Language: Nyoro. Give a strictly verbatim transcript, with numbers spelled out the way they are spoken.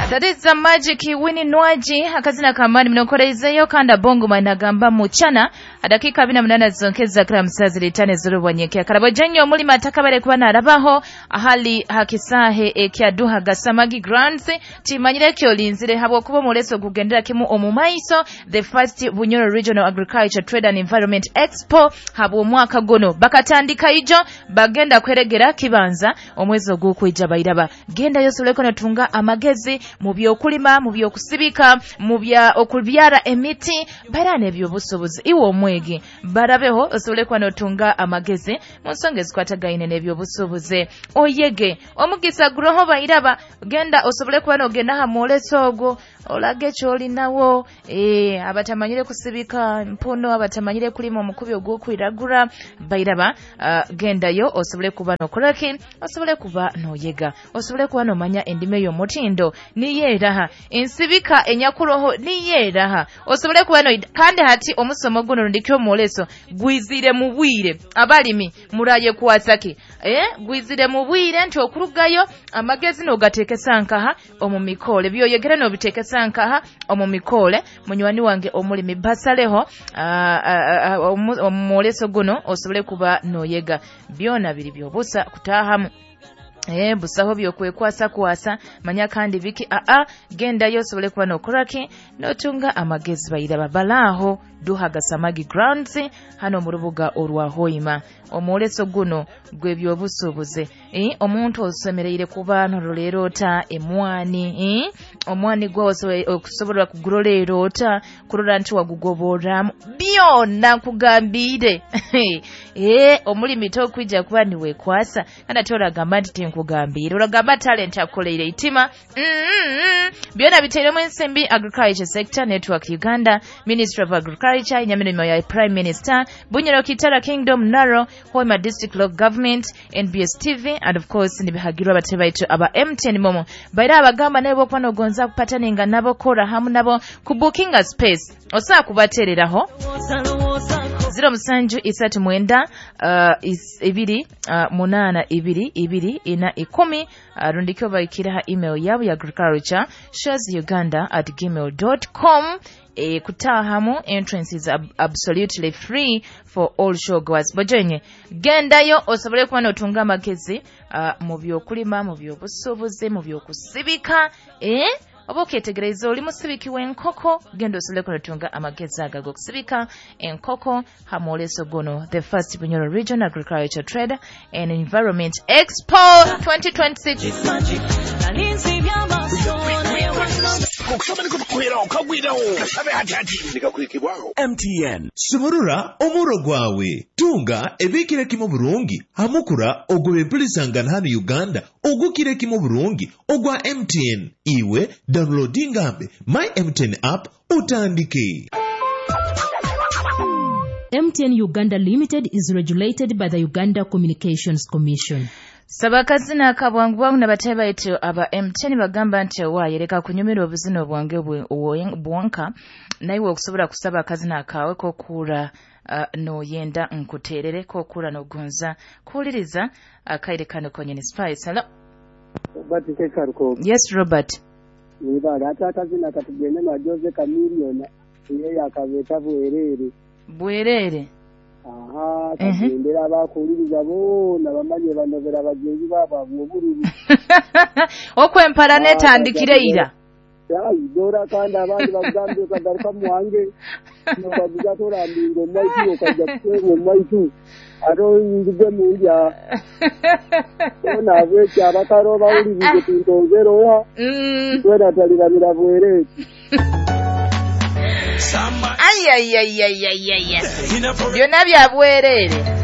That is the magic Winnie Nwagi akazina kamani mnokoreizeyo kanda bongo managamba muchana adakika abiri na munana zonkeza kila msazi litane zurubonyeke karabojenyo omulima atakabare kuba narabaho ahali hakisahe ekyaduha gasamagi grounds timanyire kyo linzire habwokuba omuleso gugendera kimu omumaiso the first Bunyoro Regional Agriculture Trade and Environment Expo habwo mwaka guno bakatandika ijo bagenda kweregera kibanza omwezi ogw'okwija bairaba genda yosoleko natunga amagezi mu byokulima mu byokusibika mu bya okubyara emiti barane ebyobusobozi iwe omwegi barabeho osolekwa notunga amagezi mu nsonga ezikwatagaine n'ebyobusobozi oyege omugisa guroho bairaba genda osobole kuba nogenda ha mwoleso ogwo olage kyolinawo eh abatamanyire kusibika mpono abatamanyire kulima omukubi ogw'okwiragura bairaba uh, gendayo osobole kuba nokoraki osobole kuba noyega osobole kuba nomanya endime y'omutindo niyeraha ensibika enyakuroho niyeraha osobole kuba no kandi hati omusomo guno rundikyo omwoleso gwizire mu bwire abalimi muraye kwasaki eh gwizire mu bwire nti okurugayo amagezi nogatekesa nkaha omu mikole byoyegera nobitekesa nkaha omu mikole munywani wange omulimi basaleho omwoleso guno osobole kuba noyega byona biri byobusa kutahamu Eh busaho byokwekwasa kwasa manya kandi biki a a genda yosobole kuba nokoraki notunga amagezi bayiraba balaho duha gasamagi grounds hano mu rubuga orwa Hoima omwoleso guno gw'ebyobusuubuzi eh omuntu osemereire kuba noroleero ota emwani eh omwani gwo okusobola kuguroleero ota kurora nti wagugoboramu byonna nkugambire eh omulimi tokwija kuba niwekwasa kandi ate oragamba nti tinkugambire oragamba talent akoleire itima mm -hmm. Byonna biteiremu ensimbi Agriculture Sector Network Uganda Ministry of Agriculture inyamirimo ya Prime Minister Bunyoro Kitara Kingdom Naro Hoima District Local Government N B S T V and of course nibihagirwa abatebaitu aba M T N Momo baira abagamba nabo kuba nogonza kupataninga nabo kora hamu nabo kubukinga space osa kubatereraho zero musanju isatu mwenda uh, is, ibiri uh, munana ibiri ibiri ina ikumi uh, rundikyo baikiraha email yabo ya agriculture shares uganda at gmail dot com. E, kutahamu entrance is ab absolutely free for all showgoers. Bojenye gendayo osobole kuba notunga amagezi uh, mu byokulima mu byobusuubuzi mu byokusibika eh oba oketegereza oli musibiki w'enkoko genda osobole kunotunga amagezi aga g'okusibika enkoko hamwoleso guno the first Bunyoro Region Agriculture Trade and Environment Expo twenty twenty-six. M T N sumurura omuro gwawe tunga ebikire kimu burungi hamukura ogw'empulisangana hano Uganda ogukire kimu burungi ogwa M T N iwe downloadingambe my M T N app utandike. M T N Uganda Limited is regulated by the Uganda Communications Commission. Sabakazina kabwangu bwangu nabateba ito aba M T N bagamba nti wayereka kunyumirwa obuzina obwange bwonka naiwe okusobola kusaba akazina akawe kokura uh, noyenda nkuterere kokura nogonza kuwuliriza akaire kano konyene Spice. Hello Robert Kekaruko. Yes Robert. Nibala ate akazina katugende na Jose Chameleone yeye akabeta bwerere. Bwerere. Aha, kagendera abakuliriza bona bamanye banobera bagenzi babo obululu. Okwempala netandikire ira. Ya idora kandi abandi bagambye kagaruka muwange. Nobabuza torambingo mwaitu okajja kutwengo mwaitu. Aro nzige mundya. Ona abweki abakaro bawulirize tintonzerowa. Mm. Twena taliramira bwerere. Ay ay ay ay ay ay. Byonna bya bwerere.